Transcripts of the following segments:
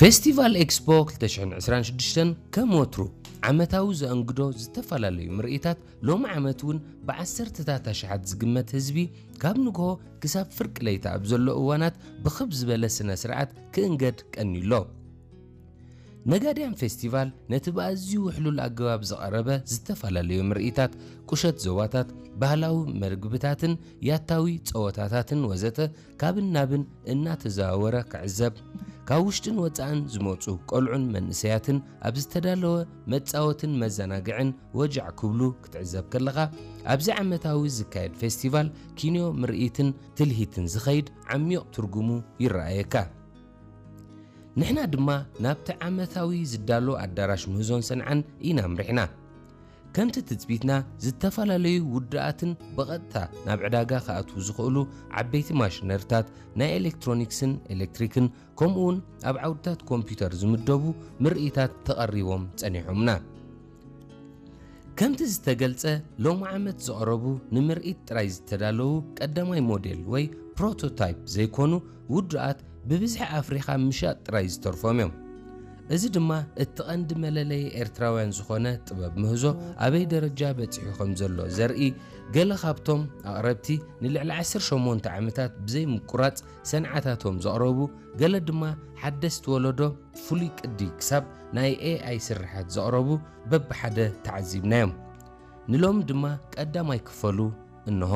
ፌስቲቫል ኤክስፖ ክልተ ሽሕን ዕስራን ሽዱሽተን ከም ወትሩ ዓመታዊ ዘእንግዶ ዝተፈላለዩ ምርኢታት፣ ሎሚ ዓመት እውን ብዓሰርተታት ኣሽሓት ዝግመት ህዝቢ ካብ ንግሆ ክሳብ ፍርቂ ለይቲ ኣብ ዘሎ እዋናት ብኽብ ዝበለ ስነ ስርዓት ክእንገድ ቀንዩ ኣሎ። ነጋድያን ፌስቲቫል ነቲ ብኣዝዩ ውሕሉል ኣገባብ ዝቐረበ ዝተፈላለዩ ምርኢታት፣ ቁሸት ዞባታት፣ ባህላዊ መግብታትን ያታዊ ጸወታታትን ወዘተ ካብን ናብን እናተዘዋወረ ክዕዘብ፣ ካብ ውሽጥን ወጻእን ዝመጹ ቆልዑን መንእሰያትን ኣብ ዝተዳለወ መጻወትን መዘናግዕን ወጃዕ ክብሉ ክትዕዘብ ከለኻ፣ ኣብዚ ዓመታዊ ዝካየድ ፌስቲቫል ኪንዮ ምርኢትን ትልሂትን ዝኸይድ ዓሚቕ ትርጉሙ ይረኣየካ። ንሕና ድማ ናብቲ ዓመታዊ ዝዳሎ ኣዳራሽ ምህዞን ሰንዓን ኢና ኣምሪሕና። ከምቲ ትጽቢትና፣ ዝተፈላለዩ ውዱኣትን ብቐጥታ ናብ ዕዳጋ ክኣትዉ ዝኽእሉ ዓበይቲ ማሽነሪታት፣ ናይ ኤሌክትሮኒክስን ኤሌክትሪክን፣ ከምኡውን ኣብ ዓውድታት ኮምፒውተር ዝምደቡ ምርኢታት ተቐሪቦም ጸኒሖምና። ከምቲ ዝተገልጸ፣ ሎሚ ዓመት ዝቐረቡ ንምርኢት ጥራይ ዝተዳለዉ ቀዳማይ ሞዴል ወይ ፕሮቶታይፕ ዘይኮኑ ውዱኣት ብብዝሒ ኣፍሪኻ ምሻጥ ጥራይ ዝተርፎም እዮም። እዚ ድማ እቲ ቀንዲ መለለዪ ኤርትራውያን ዝኾነ ጥበብ ምህዞ ኣበይ ደረጃ በጺሑ ከም ዘሎ ዘርኢ፣ ገለ ካብቶም ኣቕረብቲ ንልዕሊ ዓሰርተ ሸሞንተ ዓመታት ብዘይ ምቁራጽ ሰንዓታቶም ዘቕረቡ፣ ገለ ድማ ሓደስቲ ወለዶ ፍሉይ ቅዲ ክሳብ ናይ ኤኣይ ስርሓት ዘቕረቡ በብሓደ ተዓዚብናዮም። ንሎሚ ድማ ቀዳማይ ክፈሉ እንሆ።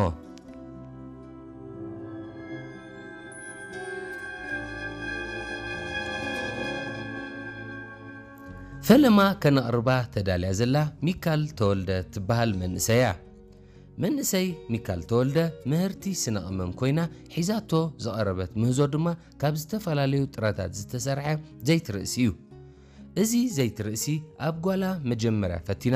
ፈለማ ከነቕርባ ተዳልያ ዘላ ሚካል ተወልደ ትበሃል መንእሰይ እያ። መንእሰይ ሚካል ተወልደ ምህርቲ ስነ ቅመም ኮይና ሒዛቶ ዝቐረበት ምህዞ ድማ ካብ ዝተፈላለዩ ጥረታት ዝተሰርሐ ዘይቲ ርእሲ እዩ። እዚ ዘይቲ ርእሲ ኣብ ጓላ መጀመርያ ፈቲና